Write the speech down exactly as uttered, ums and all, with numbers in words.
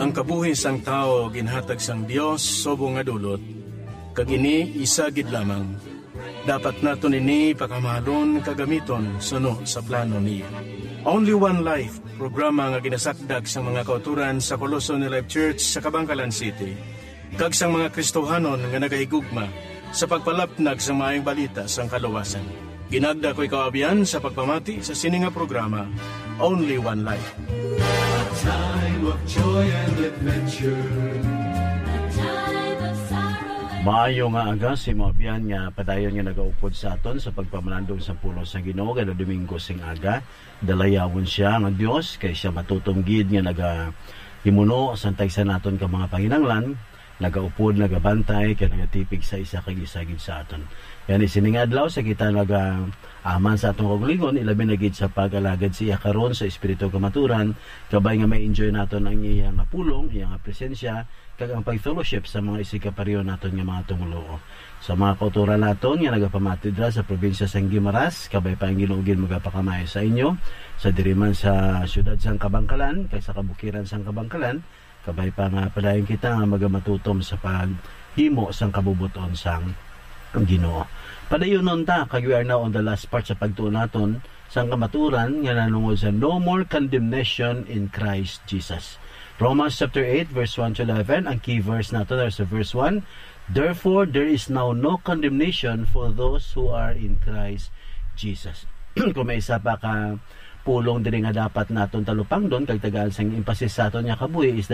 Ang kabuhi sang tawo ginhatag sang Dios subong nga dulot, kag ini isa gid lamang. Dapat naton ini pakamahalon kag gamiton suno sa plano niya. Only One Life, programa nga ginasakdag sang mga kauturan sa Colossal New Life Church sa Kabankalan City, kag sang mga Kristohanon nga nagahigugma sa pagpalapnag sa maayong balita sang kaluwasan. Ginagda ko ikaw, abyan, sa pagpamati sa sini nga programa, Only One Life. A time of joy and adventure. A time of sorrow and Maayo nga aga sa imo, abyan, nga padayon nga nagaupod sa aton sa pagpamalandong sa pulong sa Ginoo kada Domingo sing aga. Dalayawon sia nga Dios, kay sia matutom gid nga nagahimuno sang tagsa naton ka mga panginahanglan, nagaupod, nagabantay, kag nagatipig sa isa kag isa gid sa aton. Gani, sining adlaw, sa kita nagaaman sa aton kaugalingon, ilabi na gid sa pag-alagad sa iya karon sa espiritu kamaturan, kabay nga ma-enjoy naton ang iya nga pulong, iya nga presensya, kag ang pag-fellowship sa mga isigkapareho naton nga mga tumuluo. Sa mga kauturan naton nga nagapamati dira sa probinsya sang Guimaras, kabay pa ang Ginoo gid magapakamay sa inyo, sa diri man sa siyudad sang Kabangkalan, kag sa kabukiran sang Kabangkalan, kabay pa nga padayon kita nga magamatutom sa paghimo sang kabubot-on sang Ginoo. Padayonon ta, kag we are now on the last part sa pagtuon naton sang kamaturan nga nanungod sa no more condemnation in Christ Jesus. Romans chapter eight, verse one to eleven, ang key verse nato, there's a verse one, "Therefore, there is now no condemnation for those who are in Christ Jesus." Kung may isa pa ka pulong diri nga dapat naton talupangdon kag tagaan sang emphasis sa aton nga kabuhi is